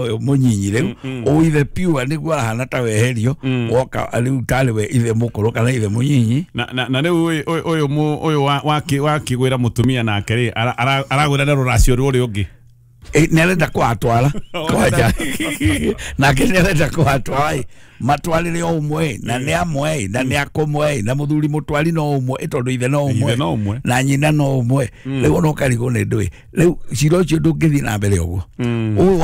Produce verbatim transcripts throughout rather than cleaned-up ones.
Ũyũ mũnyinyi rĩu ũithe pure nĩguo arahana ta weherio woka rĩu tarĩ we ithe mũkũrũ kana ithe mũnyinyi. Na na na rĩu ũyũ ũyũ ũyũ wakĩgwĩra mũtumia nake rĩ aragwĩra na rũracio rũrĩa ũngĩ nĩ arenda kũhatwara kwanja nake nĩ arenda kũhatwara matwarĩre o ũmwe na nĩ amwe na nĩ akũmwe na mũthuri mũtwari no ũmwe tondũ ithe no ũmwe na nyina no ũmwe. Rĩu ona ũkarigwo nĩ ndũĩ rĩu cira ũcio ndũngĩthiĩ na mbere ũguo. Ũyũ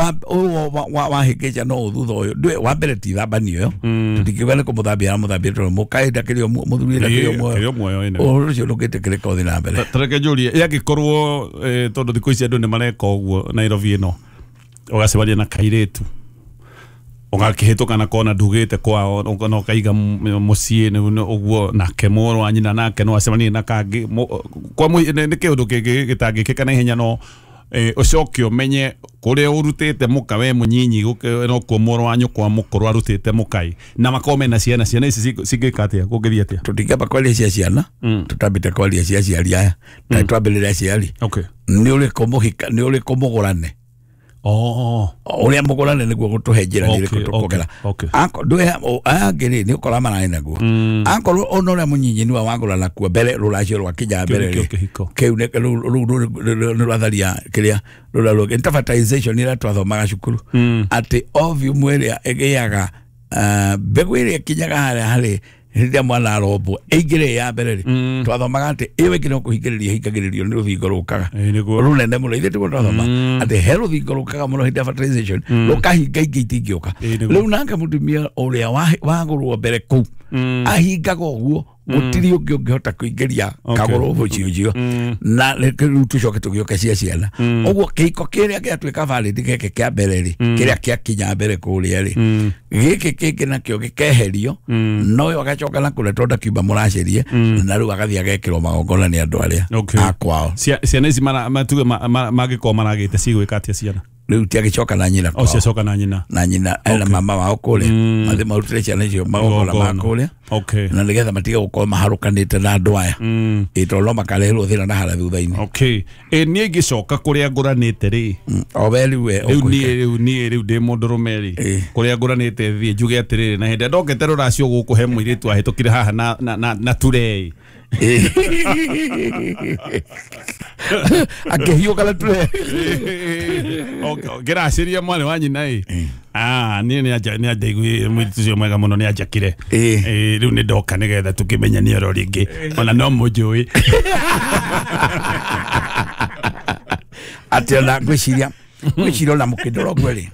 wahĩngĩca no thutha ũyũ ndũĩ wa mbere ti thambanio ĩyo tũtingiuga nĩ kũmũthambia aramũthambia tondũ mũkaĩ ndakĩrĩ o mũthuri ndakĩrĩ o muoyo, ũhoro ũcio ndũngĩtĩkĩrĩka ũthiĩ na mbere. Tareke njũrie yangĩkorwo tondũ thikũ ici andũ nĩ mareka ũguo Nairobi ĩno ũgacemania na kairĩtu ũgakĩhĩtũka na kona ndugĩte kwao na ũkaiga mũciĩ ũguo nake mũrũ wa nyina nake no acemanie na kangĩ kwa nĩ kĩũndũ kĩngĩ gĩtangĩkĩka na ihenya no ũcoke ũmenye kũrĩa ũrutĩte mũka we mũnyinyi nokuo mũrũ wa nyũkwa mũkũrũ arutĩte mũkai na makorwo mena ciana ciana ici cingĩka atĩa kũngĩthiĩ atĩa? Tũtingĩamba kwaria cia ciana tũtambĩte kwaria cia aciari aya ta twambĩrĩre aciari. Nĩ ũrĩkũ mũhika nĩ ũrĩkũ mũgũrane Oh, ũrĩa mũgũrane nĩguo gũtũhe njĩra nĩ ĩrĩkũ tũkũgera. Aya angĩ rĩ nĩ ũkora mararĩ naguo akorwo ona ũrĩa mũnyinyi nĩwe wagũrana kuo mbere rũracio rwakinya mbere rĩ kĩu rũu nĩ rwatharia kĩrĩa rũrĩa rũngĩ nĩ fertilization ĩrĩa twathomaga cukuru atĩ ovum ĩrĩa ĩgĩaga mbegũ ĩrĩa ĩkinyaga harĩa harĩ hĩndĩ ĩrĩa mwana arombwo ĩingĩre ya mbere rĩ twathomaga atĩ ĩyo ĩngĩ no kũhingĩrĩria ĩhingagĩrĩrio nĩ rũthingo rũkaga rũnene mũno. Ithuĩ tiguo twathoma atĩ he rũthingo rũkaga mũno hĩndĩ ya fertilization rũkahinga ingĩ itingĩũka. Rĩu nake mũtumia ũrĩa wagũrwo mbere kũu ahingaga ũguo gũtirĩ ũngĩ ũngĩhota kũingĩria kagũrũ mũciĩ ũcio na rĩu tũcoke tũgĩũke cia ciana. Ũguo kĩhiko kĩrĩa gĩatuĩka valid gĩkĩ kĩa mbere rĩ kĩrĩa kĩakinya mbere kũrĩa rĩ gĩkĩ kĩngĩ nakĩo gĩkeherio no ũyũ agacoka na kũrĩa tondũ ndakiuma mũracerie na rĩu agathiĩ agekĩrwo magongona nĩ andũ arĩa a kwao. Ciana ici matuge mangĩkorwo maragĩte cigwĩka atĩa ciana? Rĩu tiagĩcoka na nyina kwao. Ciacoka na nyina na nyina na mama wao kũrĩa mathiĩ marutĩre ciana icio magongona ma kũrĩa na nĩgetha matige gũkorwo maharũkanĩte na andũ aya ĩ tondũ no makareherwo thĩna na harĩa thutha-inĩ. Okay, ĩ niĩ ingĩcoka kũrĩa ngũranĩte rĩ o we rĩu we rĩu niĩ rĩu niĩ rĩu ndĩ mũndũrũme rĩ kũrĩa ngũranĩte thiĩ njuge atĩrĩrĩ na hĩndĩ ĩrĩa ndokĩte rũracio gũkũ he mũirĩtu ahĩtũkire haha na na na turei akĩhiũka na turei ngĩraciria mwarĩ wa nyina ĩ ah niĩ nĩ anjaiguire mũirĩtu ũcio mwega mũno nĩ anjakire rĩu nĩ ndoka nĩgetha tũkĩmenyanie oro rĩngĩ ona no mũnjũĩ atĩ ona ngwĩciria ngwĩciria ona mũkĩndora ũguo rĩ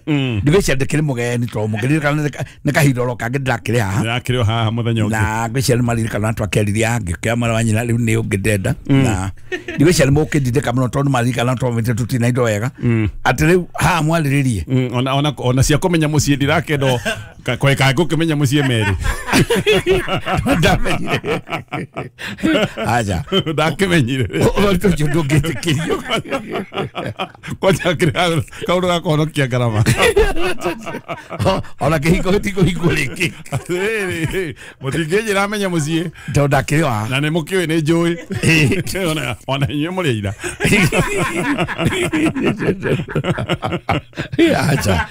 ndigwĩciria ndĩkĩrĩ mũgeni tondũ mũngĩririkana nĩ kahinda oro kangĩ ndĩrakĩrĩ haha ndĩrakĩrĩ o haha mũthenya ũngĩ na ngwĩciria nĩ maririkana twakĩaririe angĩkĩoya mwarĩ wa nyina rĩu nĩ ũngĩ ndenda na ndigwĩciria nĩ mũkĩndindĩka mũno tondũ maririkana twamĩte tũtina indo wega atĩ rĩu haha mwarĩrĩrie ona ona ona cia kũmenya mũciĩ ndirakĩenda kweka ngũkĩmenya mũciĩ merĩ ndamenyire aja ndakĩmenyire ũhoro ũcio ndũngĩtĩkĩrio kwanja kĩrĩa kaũndũ ga kũhonokia ngarama ona kĩhiko gĩtikũhingwo rĩngĩ atĩrĩrĩ mũtingĩnjĩra menye mũciĩ tondũ ndakĩrĩ o haha na nĩ mũkĩũĩ nĩ njũĩ ona inyuĩ mũrĩ aira aja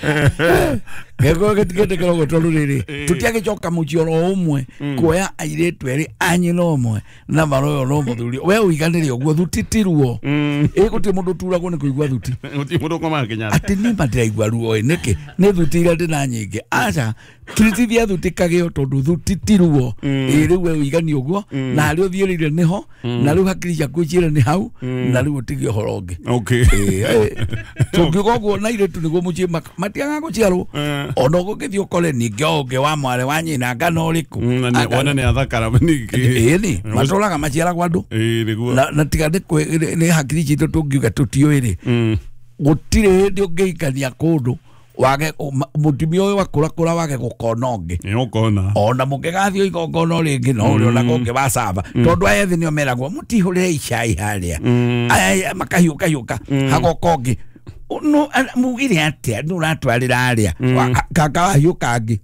gĩkorwo gĩtingĩtĩkĩra ũguo tondũ rĩrĩ tũtiagĩcoka mũciĩ oro ũmwe kuoya airĩtu erĩ a nyina ũmwe na maroyo no mũthuri we ũiganĩre ũguo thuti ti ruo ĩ gũtirĩ mũndũ ũturagwo nĩ kũigua thuti gũtirĩ mũndũ ũkomaga Kenyatta atĩ niĩ ma ndĩraigua ruo ĩ nĩkĩ nĩ thuti iria ndĩna nyingĩ aca turitithia thuti kagĩo tondũ thuti ti ruo ĩ rĩu we ũiganie ũguo na harĩa ũthiĩrĩire nĩho na rĩu hakiri ciaku ciĩre nĩ hau na rĩu ũtige ũhoro ũngĩ tũngiuga ũguo na airĩtu nĩguo mũciĩ matiagaga gũciarwo ona ũgũgĩthiĩ ũkore ningĩ o ũngĩ wa mwarĩ wa nyina ngana ũrĩkũ wona nĩ athakara ningĩ ĩni matũraga maciaragwo andũ na tiga nĩ hakiri citũ tũngiuga tũtiũĩ rĩ gũtirĩ hĩndĩ ũngĩhikania kũndũ wage mũtumia ũyũ akũrakũra wage gũkona ũngĩ nĩũkona ona mũngĩgathiĩ igongona rĩngĩ no ũrĩonaga ũngĩ wa caba tondũ aya ethĩ nĩo meragwo mũtihũrĩre icai harĩa aya makahiũkahiũka hagoka ũngĩ no mugire atĩa nĩ ũratwarĩra arĩa kaka wahiũka angĩ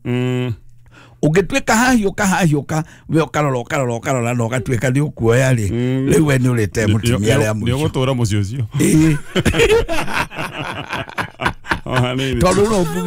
ũngĩtuĩka hahiũka hahiũka we ũkarora ũkarora ũkarora na ũgatuĩka nĩ ũkuoya rĩ rĩu we nĩ ũrĩte mũtumia arĩa mũico nĩ ũgũtũra mũciĩ ũcio ĩĩ O hanini. Tondũ no.